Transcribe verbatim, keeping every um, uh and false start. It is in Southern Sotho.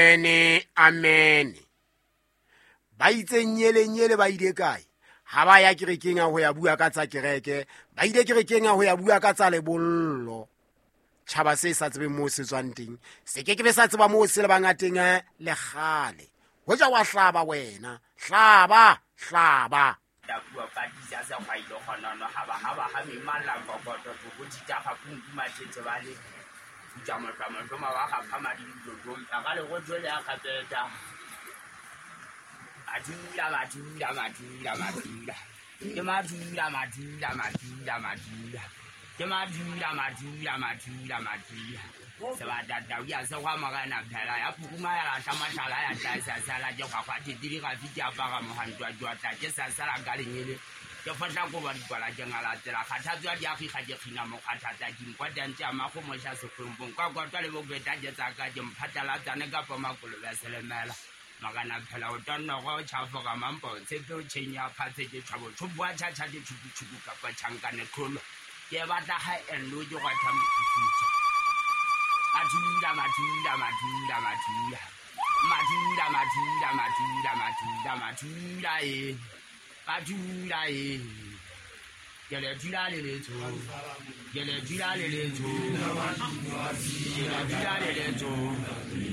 Amen, amen. Ba itse nyele nyele ba ile kae? Ha ba ya kerekeng a ho ya bua ka tsa kereke, ba ile kerekeng a ho ya bua ka tsa lebollo. Tjhaba se sa tsebeng moo se tswang teng, se ke ke be sa tseba moo se lebang a teng le kgale. Hoja wa hlaba wena, hlaba, hlaba. Tapuwa patisa sa kgwailo kgonono haba haba ha memalla kokoto toko thita ga kunku mathetse ba le futsa motlwa motloma wa ga phama di didodong ka le go jole ya kgapeta. Madula madula madula madula ke madula madula madula madula ke madula madula madula madula sebata tau ya se gwa morena phela ya phukuma ya lahla mahlala ya tla sala ke gwa ditiri ga fiti apara mohantwa jwa tla ke sa sala ka lenyele ke fotla ko ba dikwala ke ngala tsela kgathatswa di agiga ke kgina mo kgathatsa ke nkwa tantse a mago mo sha sekgompong kwa kwa le bo beta ke tsaka ke mphatalatsane kapa makolobe a selemela magana phela o tonna go tšhafoga mampo tshepe o tšhenya phatse ke tšhabo tšhoboa tšhatšha ke tšhuku-tšhuku kapa tšhankane kholo ke batla ga enlo ke gwa thamofutsa madula madula madula madula madula madula madula madula madula e madula e ke le dula le letso ke le dula le letso ke le dula le letso.